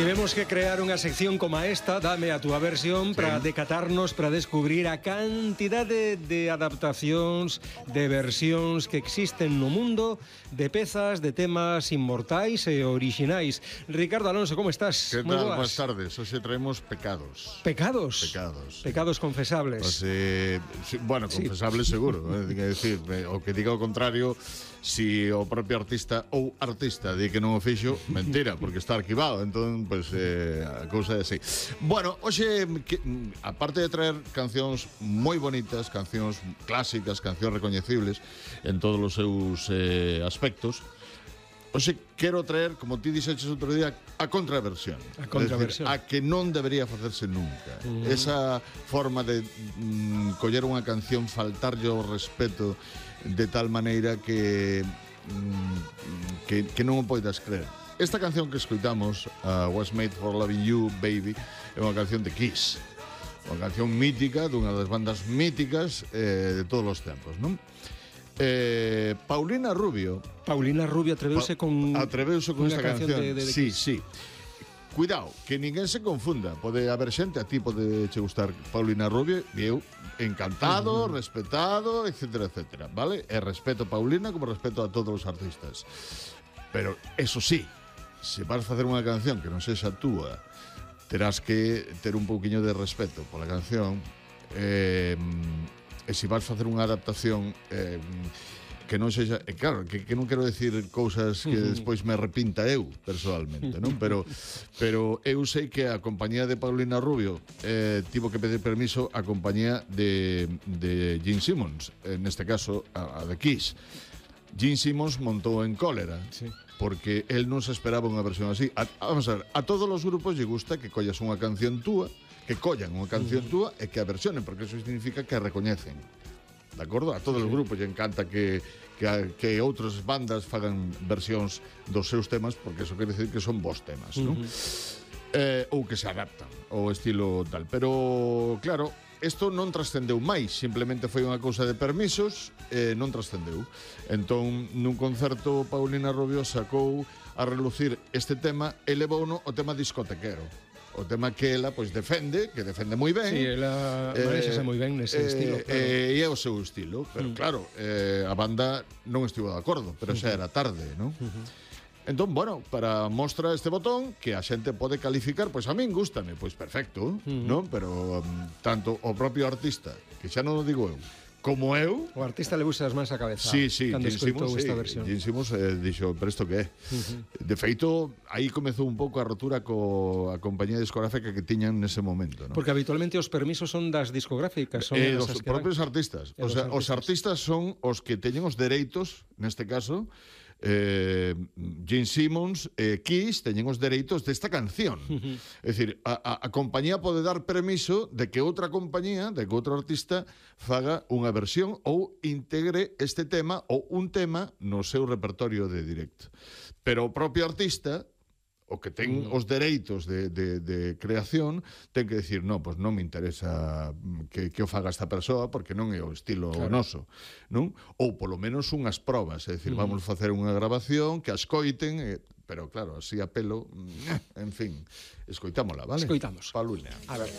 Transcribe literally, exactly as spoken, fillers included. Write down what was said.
Tivemos que crear unha sección como esta, Dame a túa versión, sí, para decatarnos, para descubrir a cantidade de adaptacións, de versións que existen no mundo, de pezas, de temas inmortais e orixinais. Ricardo Alonso, como estás? Que tal? Boas tardes. Hoxe traemos pecados. Pecados? Pecados. Pecados confesables. Pues, eh, sí, bueno, confesables sí. Seguro. Eh, que decir, eh, o que diga o contrario, si o propio artista ou artista di que non o fixo, mentira, porque está arquivado. Entón, pues, eh, a cousa é así. Bueno, hoxe, que, aparte de traer cancións moi bonitas, cancións clásicas, cancións recoñecibles en todos os seus eh, aspectos, hoxe quero traer, como ti dixeches outro día, a contraversión. A contraversión. Decir, a que non debería facerse nunca. Uh-huh. Esa forma de mm, coller unha canción, faltarlle o respeto de tal maneira que, mm, que, que non o poidas creer. Esta canción que escoitamos, uh, Was Made for Loving You, Baby, é unha canción de Kiss. Unha canción mítica, dunha das bandas míticas eh, de todos os tempos, non? Eh, Paulina Rubio Paulina Rubio atreveuse pa con atreveuse con esta canción, canción de, de, de sí, sí. Cuidado, que ninguén se confunda. Pode haber xente, a ti pode che gustar Paulina Rubio, e eu encantado, uh-huh. respetado, etcétera, etcétera, vale? E respeto a Paulina como respeto a todos os artistas. Pero, eso sí, se vas facer unha canción que non sexa túa, terás que ter un pouquiño de respeto pola canción. Eh, e se vas facer unha adaptación eh, que non sexa, e claro, que, que non quero decir cousas que despois me arrepinta eu personalmente, non? Pero pero eu sei que a compañía de Paulina Rubio eh, tivo que pedir permiso a compañía de, de Gene Simmons, en este caso a, a de Kiss. Gene Simmons montou en cólera, sí, porque él non se esperaba unha versión así. A, vamos a ver, a todos os grupos lle gusta que collas unha canción túa, que collan unha canción túa e que a versionen, porque eso significa que a recoñecen. De acordo? A todos os grupos lle encanta que, que, que outras bandas fagan versións dos seus temas, porque eso quere decir que son bons temas, non? Uh-huh. Eh, ou que se adaptan ao estilo tal. Pero, claro, isto non trascendeu máis, simplemente foi unha cousa de permisos e non trascendeu. Entón, nun concerto, Paulina Rubio sacou a relucir este tema e levouno o tema discotequero. O tema que ela, pois, defende, que defende moi ben. Sí, ela manéxase eh, moi ben nese eh, estilo. Claro. E eh, é o seu estilo, pero mm. claro, eh, a banda non estivo de acordo, pero xa era tarde, non? Uh-huh. Entón, bueno, para mostra este botón que a xente pode calificar, pois a min gústame, pois perfecto, uh-huh. non? Pero um, tanto o propio artista, que xa non o digo eu, como eu, o artista le buxa as mans a cabeza. Sí, sí, cando escoitou sí, esta versión. Gene Simmons eh, dixo, pero isto que é? Uh-huh. De feito, aí comezou un pouco a rotura co a compañía discográfica que tiñan nese momento, non? Porque habitualmente os permisos son das discográficas, son eh, os propios artistas. O sea, os artistas son os que teñen os dereitos, neste caso, eh, Gene Simmons e eh, Kiss teñen os dereitos desta canción. Uh-huh. É dicir, a, a, a compañía pode dar permiso de que outra compañía, de que outro artista faga unha versión ou integre este tema ou un tema no seu repertorio de directo. Pero o propio artista, o que ten mm. os dereitos de, de, de creación, ten que decir, no, pues non me interesa que, que o faga esta persoa porque non é o estilo claro. noso, non? Ou polo menos unhas probas, é dicir, mm. vamos facer unha grabación que a escoiten, eh, pero claro, así a pelo, en fin, escoitámola, vale? Escoitamos. Paulina. A ver.